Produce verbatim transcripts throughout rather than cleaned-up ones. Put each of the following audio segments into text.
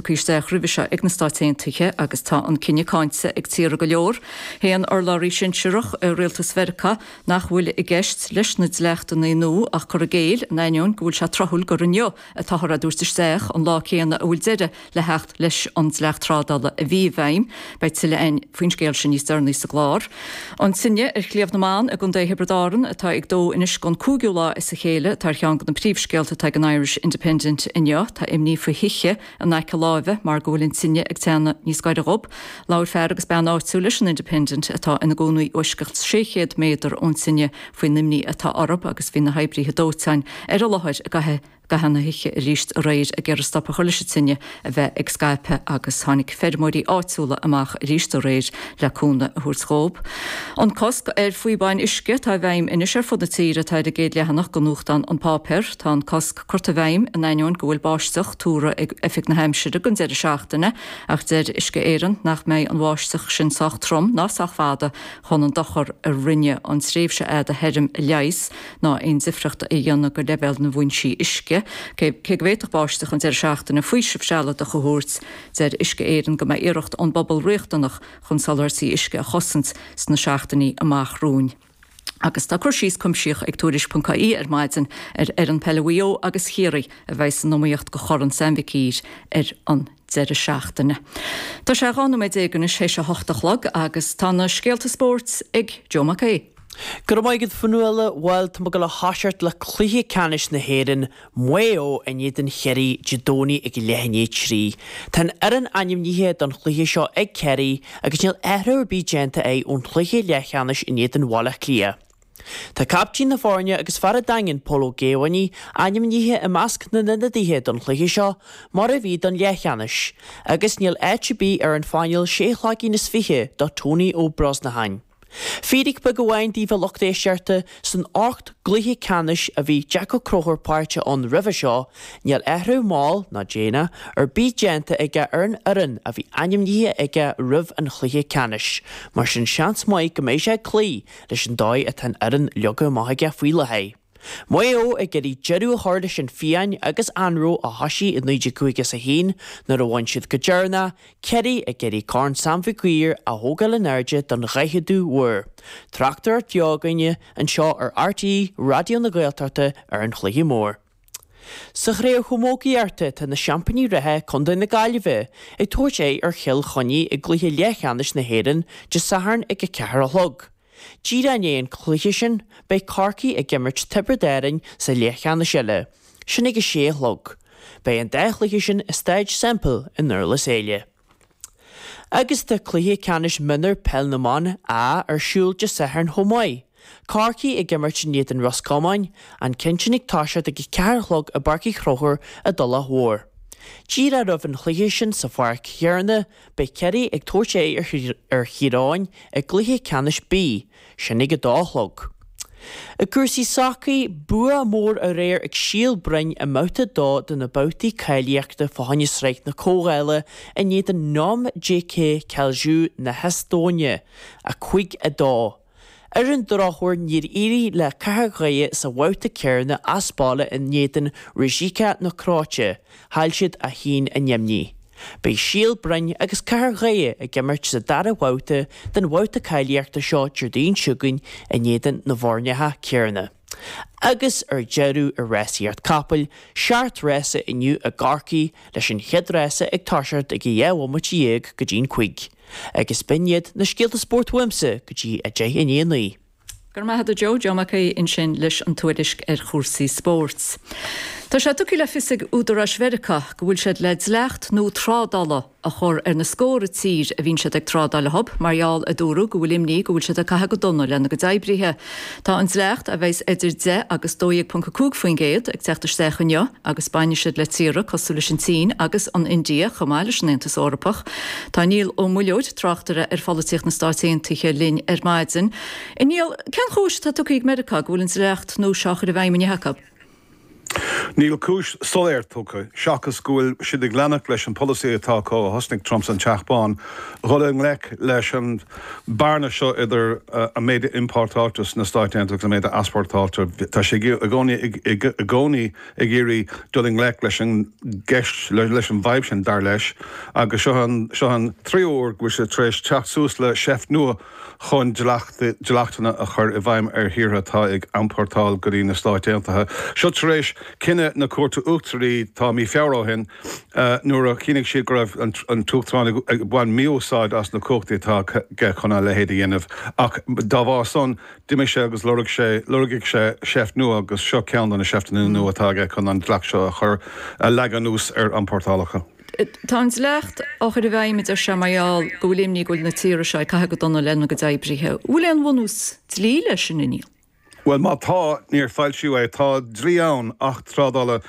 tugtha isteach roimhe seo ag na Stáit Aontaithe agus tá an cinneadh cáinte ag tíortha go leor. Shéan urlabhraí sinsearach i rialtas Mheiriceá nach bhfuil i gceist leis na dleachtanna nua ach cur i gcéill in ainneoin go bhfuil sé tráthúil gur inniu atáthar á dtabhairt isteach an lá céanna a bhfuil deireadh le theacht leis an dleacht trádála a bhí i bhfeidhm. Beidh tuilleadh againn faoin scéal sin níos deireanaí sa gclár. An tine ar Shliabh na mBan i gContae Thiobraid Árann atá ag dó anois don cúigiú lá as a chéile atá ar cheann de na príomhscéalta atá ag an Irish Independent inniu, tá imní faoi thithe in aice láimhe mar go bhfuil an tine ag teannadh níos gaire dóibh. Labhair fear agus bean áitiúil leis an Independent atá ina gcónaí i bhfoisceacht sé chéad méadar ón tine faoin imní atá orthu agus bhí na hoibrithe dóiteáin ar an láthair i gcaitheamh gcaitheamh na hoíche arís aréir ag iarraidh stop a chur leis an tine a bheith ag scaipeadh agus tháinig feirmeoirí áitiúla amach arís aréir le cúnamh a thabhairt dóibh. An cosc ar phíobáin uisce atá i bhfeidhm anois ar fud na tíre atá ar an gcéad leathanach den nuachtán An Páipéar. Tá an cosc curtha i bhfeidhm in ainneoin go bhfuil báisteach tuartha ag Oifig na hAimsire don deireadh seachtaine ach deir Uisce Éireann nach mbeidh an bháisteach sin sách trom ná sách fada chun an dochar a rinne an tréimhse fhada thirim a leigheas ná aon difríocht a dhéanamh go leibhéal na bhfoinsí uisce. Cé go bhféadfadh báisteach an deireadh seachtaine faoiseamh sealadach a thabhairt, deir Uisce Éireann go mbeidh iarracht ón bpobal riachtanach chun soláthairtí uisce a chosaint sna seachtainí amach romhainn. Agus tá cur síos cuimsitheach ag Tuairisc.ie ar maidin ar fhoireann peile Mhaigh Eo agus Chiarraí a bheidh san iomaíocht do Chorn Sam Mhic Uidhir ar an deireadh seachtaine. Tá sé dhá nóiméad déag anois théis a hocht a chlog agus tá na scéalta spóirt ag Joe Mac Aodha. Go raibh maith agat Fionnuala bhuel tá muid ag gabháil a thoiseacht le cluiche ceannais na hÉireann, Maigh Eo in éadan Chiarraí Dé Domhnaigh ag leath i ndiaidh a trí. Tá an fhoireann ainmnithe don chluiche seo ag Ciarraí agus níl athrú ar bith déanta acu ón chluiche leathcheannais in éadan Bhaile Átha Cliath. Tá caiptín na foirne agus fear an Daingin Pól Ó Géibheannaigh ainmnithe i measc na n-ionadaithe don chluiche seo mar a bhí don leathcheannais agus níl áit ar bith ar an phainéal sé shlaigín is fiche do Tony Ó Brosnacháin. Fíric beag amháin daoibh a lucht éisteachta san ocht gcluiche ceannais a bhí Jack Ó Conchúir páirteach ann roimhe seo, níl athrú mall ná déanach ar bith déanta aige ar an fhoireann a bhí ainmnithe aige roimh an chluiche ceannais, mar sin seans maith go mbeidh sé ag cloí leis an dóigh atá an fhoireann leagtha amach aige faoi láthair. Maigh Eo ag iarraidh deireadh a chur leis an phian agus anró a thosaigh i naoi déag caoga is a haon nuair a bhain siad go deireanach, Ciarraí ag iarraidh Corn Sam Mhic Uidhir a thógáil in airde don dhaicheadú huair. Tráchtaireacht bheo againne anseo ar RTÉ Raidió na Gaeltachta ar an chluiche mór. Sa chraobh chamógaíochta tá na seaimpíní reatha Contae na Gaillimhe ag tabhairt aghaidh ar Chill Chainnigh i gcluiche leathcheannais na hÉireann Dé Sathairn ag a ceathair a chlog. Díreach i ndiaidh an chluiche sin, beidh Corcaigh ag imirt Tiobraid Árann sa leathcheannais eile, sin ag a sé a chlog. Beidh an dá chluiche sin i Staid Semple i nDurlas Éile. Agus tá cluiche ceannais mionúr Peil na mBan A ar siúl Dé Sathairn chomh maith. Corcaigh ag imirt in éadan Ros Comáin, an ceann sin ag toiseacht ag a ceathair a chlog i bPáirc Uí Chonchúir i dTulach Mhór. Díreach roimh an chluiche sin sa pháirc chéanna, beidh Ciarraí ag tabhairt aghaidh ar Thír Eoghain i gcluiche ceannais B, sin ag a dó a chlog. I gcúrsaí sacair, bua mór aréir ag Síol Broin i mbabhta a dó de na babhtaí cáilíochta fá choinne Sraith na Comhdhála in éadan Nõmme JK Kalju na hEastóine, a cúig a dó. Ar an drochuair níor éirigh le Cathair Dhoire sa bhabhta céanna as baile in éadan Rijeka na Cróite, chaill siad a haon a neamhní. Beidh Síol Broin agus Cathair Dhoire ag imirt sa dara babhta den bhabhta cáilíochta seo Déardaoin seo chugainn in éadan na bhfoirneacha céanna. Agus ar deireadh i rásaíocht capaill, seacht rása inniu i gCorcaigh leis an chéad rása ag toiseacht ag a dhá bhomaite dhéag go dtí'n cúig. Agus b'in iad na scéalta spóirt uaimse go dtí a deich i ndiaidh a naoi. Go raibh maith agat Joe, Joe Mac Aodha ansin leis an tuairisc ar chúrsaí spóirt. Tá sé tugtha le fios ag údaráis Mheiriceá go bhfuil siad le dleacht nua trádála a chur ar na scórtha tír a bhíonn siad ag trádáil leo mar gheall a dúradh go bhfuil imní go bhfuil siad ag caitheamh go dona lena gcuid oibrithe. Tá an dleacht, a bheas idir deich agus dó dhéag ponc a cúig faoin gcéad, ag teacht isteach inniu agus bainfidh siad le tíortha cosúil leis an tSín agus an India chomh maith leis an Aontas Eorpach. Tá Niall Ó Muilleoir, tráchtaire ar pholaitíocht na Stáit Aontaithe linn ar maidin. A Niall, cén chúis atá tugtha ag Meiriceá go bhfuil an dleacht nua seo á chur i bhfeidhm inniu acu? Níl cúis soiléir tugtha, seachas go bhfuil siad ag leanacht leis an polasaí atá acu ó thosnaigh Trump san Teach Bán, dhul i ngleic leis an bearna seo idir an méid a iompórtáiltear sna Stáit Aontaithe agus an méid a easpórtáiltear. Tá sé i gcónaí ag iarraidh dul i ngleic leis an gceist, leis an bhfadhb sin, dar leis, agus seo an tríú huair go bhfuil sé tar éis teacht suas le seift nua chun dleachtanna a chur i bhfeidhm ar thíortha atá ag iompórtáil go dtí na Stáit Aontaithe. Seo tar éis cinneadh na Cúirte Uachtaraí tá mí Feabhra ó shin nuair a chinntigh siad go raibh an tUachtarán ag baint mí-úsáid as na cumhachtaí atá aige chun a leithéid a dhéanamh. Ach dá bharr san, d'imigh sé agus lorg sé, lorgaigh sé seift nua agus seo ceann de na seifteanna nua atá aige chun an dleacht seo a chur, a leagan anuas ar iompórtálacha. Tá an dleacht á chur i bhfeidhm, a deir sé, mar gheall go bhfuil imní go bhfuil na tíortha seo ag caitheamh go dona lena gcuid oibrithe. An bhfuil aon bhunús dlí leis sin, a Niall? Bhuel, má tá, níor foilsíodh é. Tá dlí ann, Acht Trádála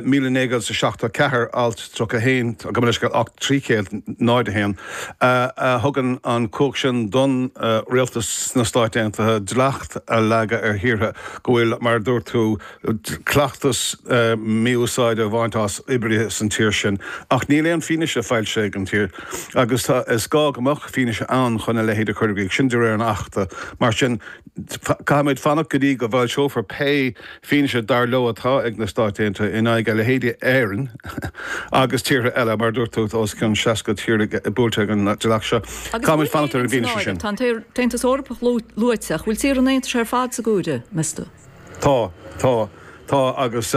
míle naoi gcéad is a seachtó ceathair, Alt tríocha a haon, gabh mo leithscéal, Acht trí chéad náid a haon, a thugann an chumhacht sin don rialtas sna Stáit Aontaithe dleacht a leagadh ar thíortha go bhfuil, mar a dúirt tú, cleachtas mí-úsáide a bhaint as oibrithe san tír sin. Ach níl aon fianaise foilsithe ag an tír agus is gá go mbeadh fianaise ann chun a leithéid a chur i gcrích, sin de réir an Achta. Mar sin, caithfimid fanacht go dtí go bhfoilseofar pé fianaise dar leo atá ag na Stáit Aontaithe in aghaidh a leithéidí Éireann agus tíortha eile, mar a dúirt tú, tá os cionn seasca tír buailte ag an dleacht seo. Caithfimid fanacht ar an bhfianaise sin. Tá an tAontas Eorpach luaite, ach bhfuil tíortha an Aontais ar fad sa gcomhaireamh, meas tú? Tá, tá, tá agus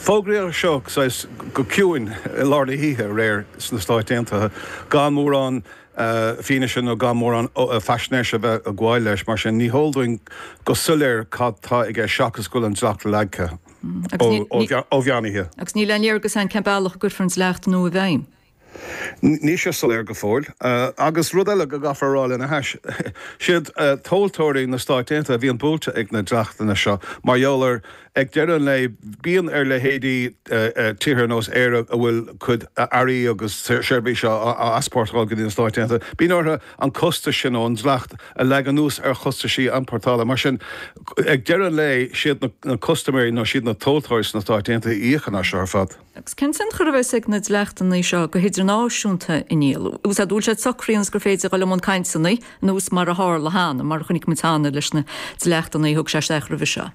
fógraíodh seo saghas go ciúin i lár na hoíche aréir sna Stáit Aontaithe gan mórán fianaise nó gan mórán faisnéise a bheith ag gabháil leis. Mar sin, ní heol dúinn go soiléir cad tá i gceist seachas go bhfuil an dleacht leagtha ó mheán oíche. Agus níl aon léargas ann cén bealach a gcuirfear an dleacht nua i bhfeidhm? Níl sé soiléir go fóill. Agus rud eile go gcaithfear a rá lena hais, siad tomhaltóirí na Stáit Aontaithe a bhíonn buailte ag na dleachtanna seo mar gheall ar Ag deireadh an lae, bíonn ar leithéidí tíortha ar nós Éire a bhfuil cuid earraí agus seirbhísí á easpórtáil go dtí na Stáit Aontaithe, bíonn orthu an costas sin ón dleacht a leagan anuas ar chostaisí iompórtála. Mar sin, ag deireadh an lae, siad na custaiméirí nó siad na tomhaltóirí sna Stáit Aontaithe a íocann as seo ar fad. Agus cén tionchar a bheas ag na dleachtanna seo go hidirnáisiúnta, a Niall? An bhfuil siad socraithe ionas gur féidir dul i mbun cainteanna, nós mar a tharla cheana, mar a chonaic muid cheana leis na dleachtanna a thug sé isteach roimhe seo?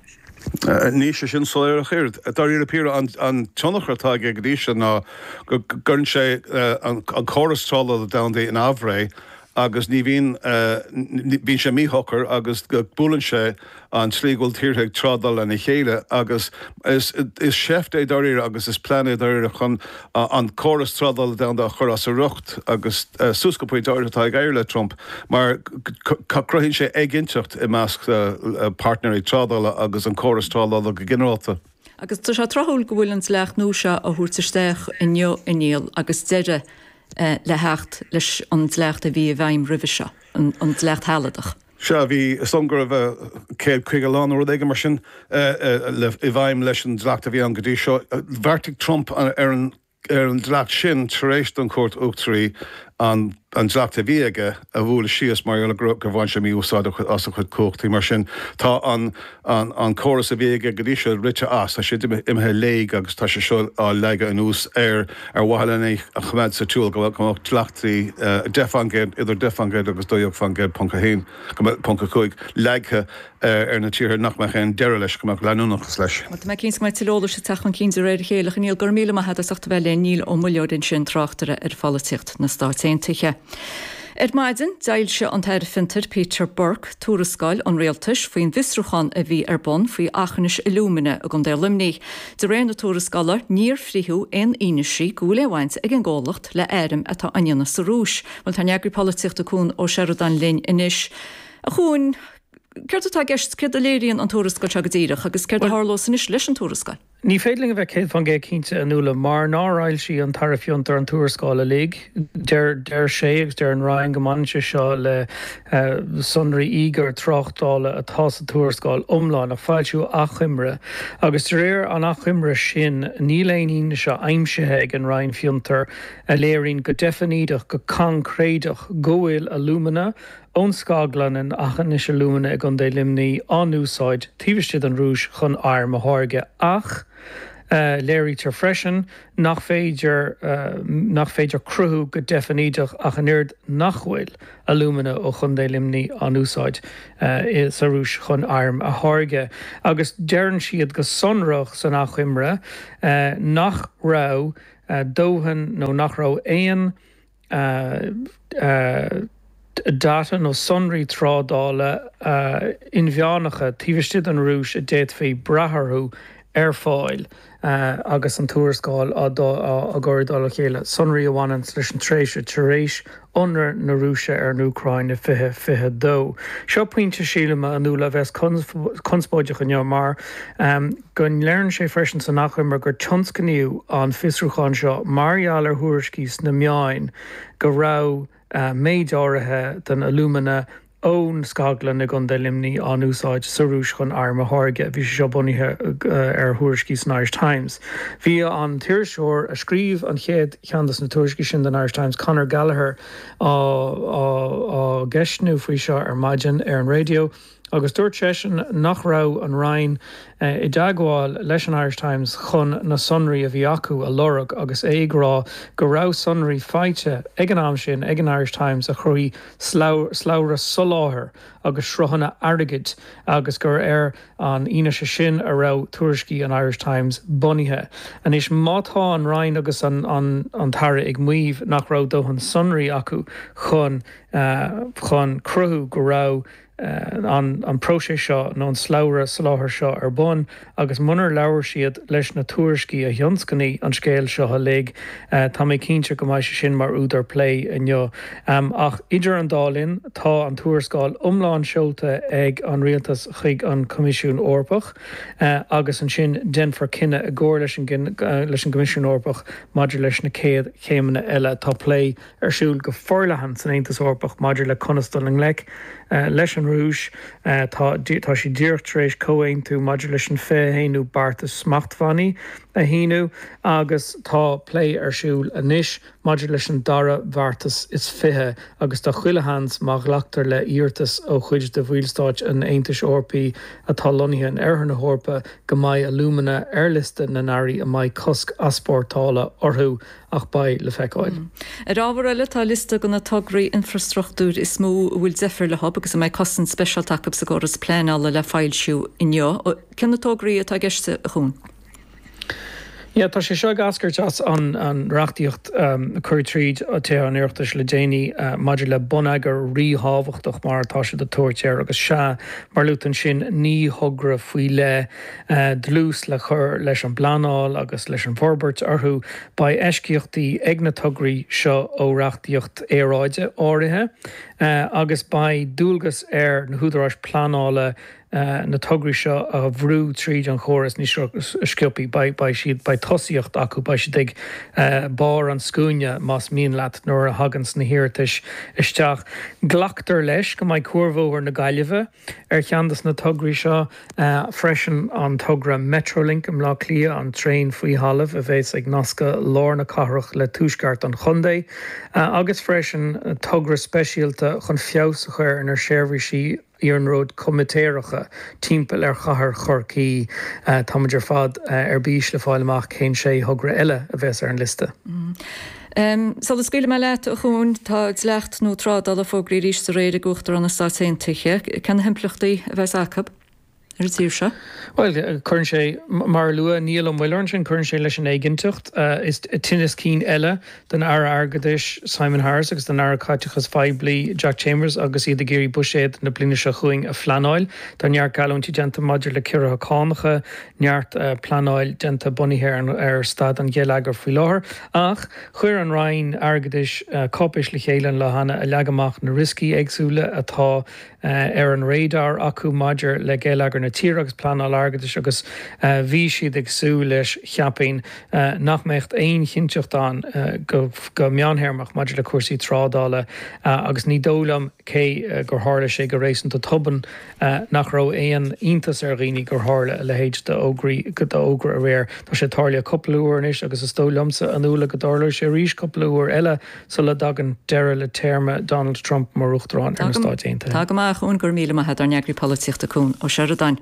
Níl sé sin soiléir ach oiread. Dáiríre píre, an tionchar atá aige go dtí seo ná go gcuireann sé an córas trádála domhanda in aimhréidh agus ní bhíonn, bíonn sé míshocair agus go buaileann sé an tslí go bhfuil tíortha ag trádáil lena chéile agus is seift é dáiríre agus is plean é dáiríre chun an córas trádála domhanda a chur as a riocht agus suas go pointe áirithe tá ag éirí le Trump mar cruthaíonn sé éiginnteacht i measc páirtnéirí trádála agus an córas trádála go ginearálta. Agus tá sé tráthúil go bhfuil an dleacht nua seo á thabhairt isteach inniu, a Niall, agus deireadh le theacht leis an dleacht a bhí i bhfeidhm roimhe seo, an dleacht shealadach. Sea, bhí, is dóigh liom go raibh céad caoga lá nó rud éigin mar sin i bhfeidhm leis an dleacht a bhí ann go dtí seo. Bheartaigh Trump ar an ar an dleacht sin tar éis don Chúirt Uachtaraí an dleacht a bhí aige a bhualadh síos mar gheall gur bhain sé mí-úsáid as a chuid cumhachtaí. Mar sin, tá an córas a bhí aige go dtí seo rite as, tá sé imithe i léig agus tá sé seo á leagadh anuas air ar mhaithe lena a choimeád sa tsiúl go mbeadh dleachtaí deich faoin gcéad, idir deich faoin gcéad agus dó dhéag faoin gcéad ponc a haon, ponc a cúig, leagtha ar na tíortha nach mbeadh aon deireadh leis, go mbeadh leanúnachas leis. Bhuel, tá mé cinnte go mbeidh tuilleadh eolais ag teacht chun cinn de réir a chéile. A Niall, go raibh míle maith agat as ucht a bheith linn. Niall Ó Muilleoir ansin, tráchtaire ar pholaitíocht na Stáit Aontaithe. Ar maidin, d'fhoilsigh an tAire Fiontair Peter Burke tuarascáil an rialtais faoin bhfiosrúchán a bhí ar bun faoi Aughinish Alumina i gContae Luimnigh. De réir na tuarascála, níor frítheadh aon fhianaise go bhfuil aon bhaint ag an gcomhlacht le airm atá á ndéanamh sa Rúis. Bhuel, tá ár n-eagraí polaitíochta Cuan Ó Seireadáin linn anois. A Chuain, céard atá i gceist, céard a léiríonn an tuarascáil seo go díreach agus céard a tharlós anois leis an tuarascáil? Ní féidir linn a bheith céad faoin gcéad cinnte, a Nuala, mar nár fhoilsigh an tAire Fiontar an tuarascáil uilig. Deir deir sé agus deir an Roinn go mbaineann sé seo le sonraí íogair tráchtála atá sa tuarascáil iomlán ach foilsíodh achoimre agus de réir an achoimre sin níl aon fhianaise aimsithe ag an Roinn Fiontar a léiríonn go deifnídeach, go coincréideach go bhfuil alúmana ón scaglann in Aughinish Alumina i gContae Luimnigh á n-úsáid taobh istigh den Rúis chun airm a tháirgeadh ach léirítear freisin nach féidir nach féidir cruthú go deifnídeach ach an oiread nach bhfuil alúmana ó Chontae Luimnigh á n-úsáid sa Rúis chun airm a tháirgeadh agus deireann siad go sonrach san achoimre nach raibh dóthain nó nach raibh aon data nó sonraí trádála inmheánacha taobh istigh den Rúis a d'fhéadfaí brath orthu ar fáil agus an tuarascáil á cur i dtoll a chéile, sonraí a bhaineann leis an tréimhse tar éis ionradh na Rúise ar an Úcráin i fiche fiche a dó. Seo pointe, sílim, a Nuala, a bheas conspóideach inniu mar go ndeireann sé freisin san achoimre gur tionscnaíodh an fiosrúchán seo mar gheall ar thuairiscí sna meáin go raibh méid áirithe den alúmana ón scaglann i gContae Luimnigh á n-úsáid sa Rúis chun airm a tháirgeadh. Bhí sé seo bunaithe ar thuairiscí san Irish Times. Bhí an t-iriseoir a scríobh an chéad cheann de na tuairiscí sin don Irish Times, Conor Gallagher, á gceistniú faoi seo ar maidin ar an raidió agus dúirt seisean nach raibh an Roinn i dteagmháil leis an Irish Times chun na sonraí a bhí acu a lorg agus é ag rá go raibh sonraí faighte ag an am sin ag an Irish Times a chruthaigh slabhra soláthair agus sruthanna airgid agus gur ar an fhianaise sin a raibh tuairiscí an Irish Times bunaithe. Anois má tá an Roinn agus an an tAire ag maíomh nach raibh dóthain sonraí acu chun chun cruthú go raibh an an próiseas seo nó an slabhra soláthair seo ar bun agus munar labhair siad leis na tuairiscí a thionscnaigh an scéal seo uilig, tá mé cinnte go mbeidh sé sin mar údar plé inniu. Ach idir an dá linn, tá an tuarascáil iomlán seolta ag an Rialtas chuig an Coimisiún Eorpach agus ansin déanfar cinneadh i gcomhar leis an leis an gCoimisiún Eorpach maidir leis na céad chéimeanna eile. Tá plé ar siúl go forleathan san Aontas Eorpach maidir le conas dul i ngleic leis an Rúis. Tá tá siad díreach tar éis comhaontú maidir leis an fiche haonú beartas smachtbhannaí a shíniú agus tá plé ar siúl anois maidir leis an dara bheartas is fiche agus tá chuile sheans má ghlactar le hiarratas ó chuid de bhallstáit an Aontais Eorpaigh atá lonnaithe in oirthear na hEorpa go mbeidh alúmana ar liosta na n-earraí a mbeidh cosc easpórtála orthu ach beidh le feiceáil. Ar ábhar eile, tá liosta de na tograí infrastruchtúir is mó a bhfuil deifir leo agus a mbeidh cosaint speisialta acu sa gcóras pleanála le foilsiú inniu. Cé na tograí atá i gceist, a Chuain? Yeah, tá sé seo ag eascairt as an an reachtaíocht a cuireadh tríd Tithe an Oireachtais le déanaí maidir le bonneagar ríthábhachtach mar atá siad ag tabhairt air agus sea, mar a luaigh tú ansin naoi thogra faoi leith dlús le cur leis an bpleanáil agus leis an bhforbairt orthu. Beidh eisceachtaí ag na tograí seo ó reachtaíocht aeráide áirithe agus beidh dualgas ar na húdaráis pleanála na tograí seo a bhrú tríd an chóras níos sciobtha. Beidh beidh siad beidh tosaíocht acu, beidh siad ag barr an scuaine más mian leat nuair a thaganns na hiarratais isteach. Glactar leis go mbeidh Cuarbhóthar na Gaillimhe ar cheann de na tograí seo freisin, an togra Metrolink i mBleá Cliath, an traein faoi thalamh a bheas ag nascadh lár na cathrach le tuaisceart an chontae, agus freisin togra speisialta chun feabhas a chur ar na seirbhísí iarnróid comaitéireacha timpeall ar chathair Chorcaí. Táimid ar fad ar bís le fáil amach cén sé thogra eile a bheas ar an liosta. Sula scaoilfidh mé leat, a Chuain, tá dleacht nua trádála fógraithe arís aréir ag Uachtarán na Stát Aontaithe. Cé na himpleachtaí a bheas acu ar an tír seo? Bhuel, cuireann sé, mar a luaigh Niall Ó Muilleoir ansin, cuireann sé leis an éiginnteacht. Is tinneas cinn eile don Aire Airgeadais Simon Harris agus don Aire Caiteachais Phoiblí Jack Chambers agus iad ag iarraidh buiséad na bliana seo chugainn a phleanáil. Tá neart geallúintí déanta maidir le ciorruithe cánacha, neart pleanáil déanta bunaithe ar staid an gheilleagair faoi láthair. Ach chuir an Roinn Airgeadais cáipéis le chéile an lá cheana a leag amach na rioscaí éagsúla atá ar an radar acu maidir le geilleagar na na tíre agus pleanáil airgeadais agus bhí siad ag súil leis, cheapfainn, nach mbeadh aon chinnteacht ann go meánthéarmach maidir le cúrsaí trádála agus ní dóigh liom, cé gur tharla sé go réasúnta tobann, nach raibh aon iontas ar dhaoine gur tharla a leithéid d'fhógra aréir. Tá sé tarlaithe cúpla uair anois agus is dóigh liomsa, a Nuala, go dtarlóidh sé arís cúpla uair eile sula dtagann deireadh le téarma Donald Trump mar Uachtarán ar na Stáit Aontaithe. Tá go maith, a Chuain, go raibh míle maith agat, ár n-eagraí polaitíochta Cuan Ó Seireadáin.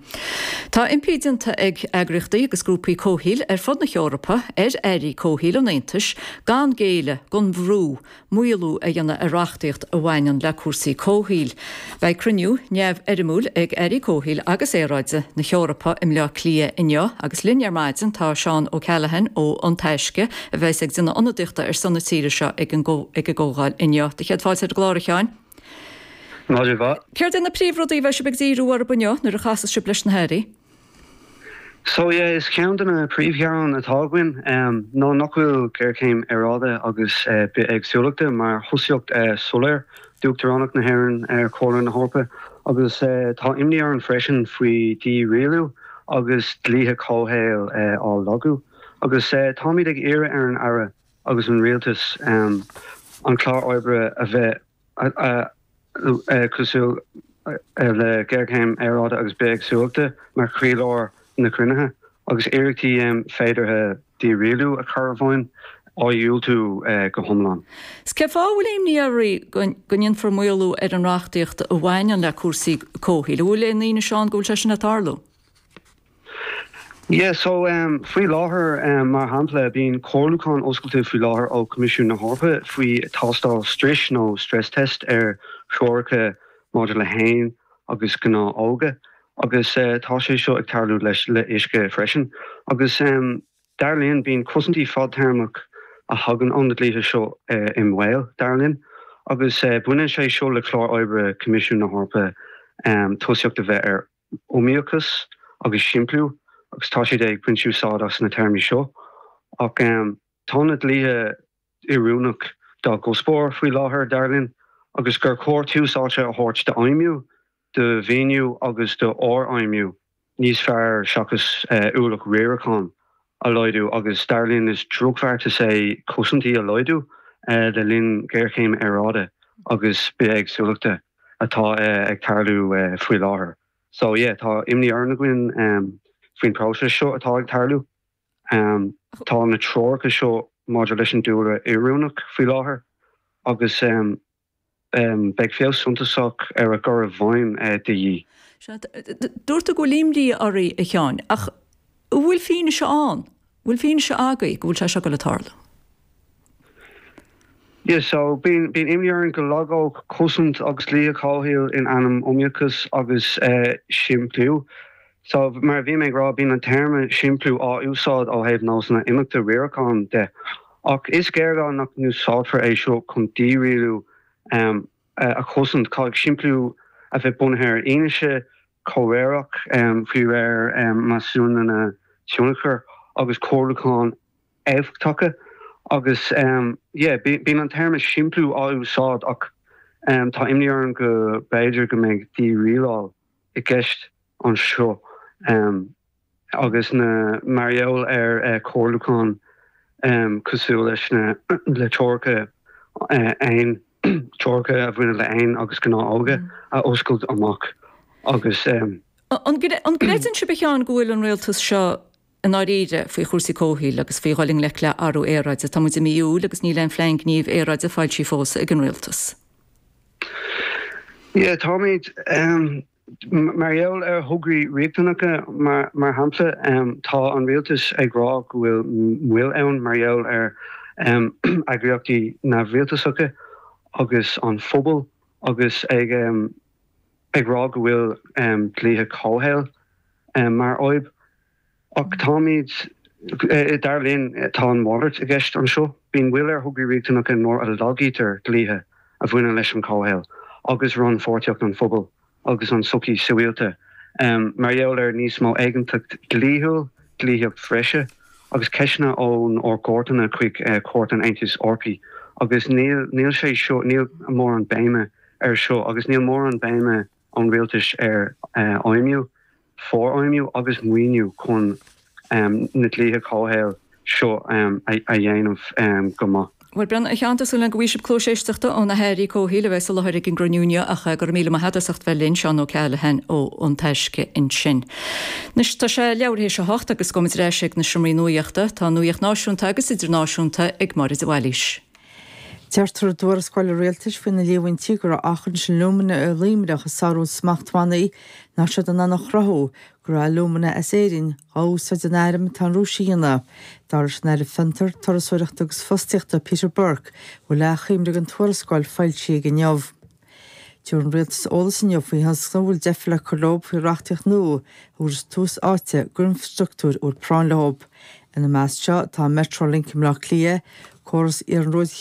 Tá impí déanta ag eagraíochtaí agus grúpaí comhshaoil ar fud na hEorpa ar airí comhshaoil an Aontais gan géilleadh don bhrú maolú a dhéanamh ar reachtaíocht a bhaineann le cúrsaí comhshaoil. Beidh cruinniú neamhfhoirmiúil ag airí comhshaoil agus aeráide na hEorpa i mBleá Cliath inniu agus linn ar maidin tá Seán O'Callaghan ó An Taisce a bheas ag déanamh ionadaíochta ar son na tíre seo ag an gcomhdháil inniu. Do chéad fáilte ar an gclár, a Sheáin. Maidin mhaith. Céard é na príomhrudaí a bheidh sibh ag díriú orthu inniu nuair a chasas sibh leis na hairí? So yeah, is ceann de na príomhghearáin atá againn ná nach bhfuil géarchéim aeráide agus bithéagsúlachta mar thosaíocht soiléir d'Uachtaránacht na hÉireann ar Chomhairle na hEorpa agus tá imní orainn freisin faoi dhí-rialú agus dlíthe comhshaoil á lagú agus táimid ag iarraidh ar an Aire agus an Rialtas an clár oibre a bheith cosúil le géarchéim aeráide agus bithéagsúlachta mar chroílár na cruinnithe agus iarrachtaí féideartha dírialú a chur i bhfeidhm á dhiúltú go hiomlán. 'S cén fáth a bhfuil imní oraibh go ndéanfar maolú ar an reachtaíocht a bhaineann le cúrsaí comhshaoil? An bhfuil aon fhianaise ann go bhfuil sé sin ag tarlú? Yeah, so um, faoi láthair um, mar shampla bíonn comhairliúchán oscailte faoi láthair ó Coimisiún na hEorpa faoi tástáil struis nó stress test ar threoracha maidir le héin agus gnáthóga agus uh, tá sé seo ag tarlú leis le uisce freisin. Agus um, dar linn bíonn cosaintí fadtéarmach a thagann ó na dlíthe seo uh, i mbaol, dar linn, agus uh, baineann sé seo le clár oibre Coimisiún na hEorpa um, tosaíocht a bheith ar iomaíochas agus simpliú agus tá siad ag baint úsáid as na téarmaí seo. Ach tá na dlíthe oiriúnach dá gcuspóir faoi láthair, dar linn, agus gur chóir tús áite a thabhairt d'fheidhmiú, do mhaoiniú agus do fhorfheidhmiú níos fearr seachas ualach riaracháin a laghdú agus dar linn is drochbheartas é cosaintí a laghdú le linn géarchéim aeráide agus bithéagsúlachta atá ag tarlú faoi láthair. So yeah, tá imní orainn againn faoin próiseas seo atá ag tarlú. Tá na treoracha seo maidir leis an dúlra oiriúnach faoi láthair agus beidh feabhas suntasach ar a gcur i bhfeidhm de dhíth. Sea, dúirt tú go bhfuil imní oraibh, a Sheáin, ach an bhfuil fianaise ann? Bhfuil fianaise agaibh go bhfuil sé seo ag tarlú? Yeah, so bíonn bíonn imní orainn go lagódh cosaint agus dlíthe comhshaoil in ainm iomaíochas agus simpliú. So mar a bhí mé ag rá, bíonn an téarma simpliú á úsáid ó thaobh nósanna imeachta riaracháin de. Ach is géarghá nach n-úsáidfear é seo chun dírialú a chosaint. Caithfidh simpliú a bheith bunaithe ar fhianaise, comhréireach, faoi réir measúnuithe tionchair agus comhairliúcháin éifeachtacha agus yeah bíonn an téarma simpliú á úsáid ach tá imní orainn go b'fhéidir go mbeidh dírialáil i gceist anseo agus na mar gheall ar comhairliúchán cosúil leis na le treoracha éin treoracha a bhaineann le éin agus gnáthóga a oscailt amach agus. An gcreideann sibh a Sheáin go bhfuil an rialtas seo i ndáiríre faoi chúrsaí comhshaoil agus faoi dhul i ngleic le athrú aeráide? Tá muid i mí Iúil agus níl aon phlean gnímh aeráide foilsithe fós ag an rialtas. Yeah, táimid mar gheall ar thograí riachtanacha mar shampla, tá an rialtas ag rá go bhfuil moill ann mar gheall ar eagraíochtaí neamhrialtasacha agus an phobal agus ag ag rá go bhfuil dlíthe comhshaoil mar fhadhb. Ach táimid, dar linn, tá an mhalairt i gceist anseo. Bíonn moill ar thograí riachtanacha nuair a lagaítear dlíthe a bhaineann leis an comhshaol agus rannpháirtíocht an phobail agus an tsochaí sibhialta mar gheall ar níos mó éiginnteacht dhlíthiúil, dlíthíocht bhreise agus ceisteanna ón ár gcúirteanna chuig Cúirt an Aontais Eorpaigh agus níl níl sé seo, níl mórán béime ar seo agus níl mórán béime ón rialtas ar fheidhmiú. forfheidhmiú agus maoiniú chun na dlíthe comhshaoil seo a dhéanamh go maith. Bhuel, Brendan, a Sheáin, tá súil agam go bhfaighidh sibh cluas éisteachta ó na hairí comhshaoil a bheas i láthair ag an gcruinniú inniu ach go raibh míle maith agat as ucht bheith linn, Seán O'Callaghan ó An Taisce ansin. Anois tá sé leathuair théis a hocht agus gabhfaimid ar ais ag na seomraí nuaíochta. Tá nuaíocht náisiúnta agus idirnáisiúnta ag Máire de Bhailís. Deirtear i dtuarascáil an rialtais faoi na líomhaintí go raibh auchans alúmana i Luimneach ag sárú smachtbhannaí nach raibh siad in ann a chruthú go raibh alúmana as Éirinn á úsáid in airm atá an Rúis a dhéanamh. Dar leis an Aire Fiontar, Turasóireachta agus Fostaíochta Peter Burke, bhfuil achoimre den tuarascáil foilsithe aige inniu. Tabharfaidh an rialtas eolas inniu faoi thionscnamh a bhfuil deifir le cur leo faoi reachtaíocht nua a thabharfas tús áite d'infrastruchtúir a bhfuil práinn leo. Ina measc seo tá Metrolink i mBleá Cliath, córas iarnróid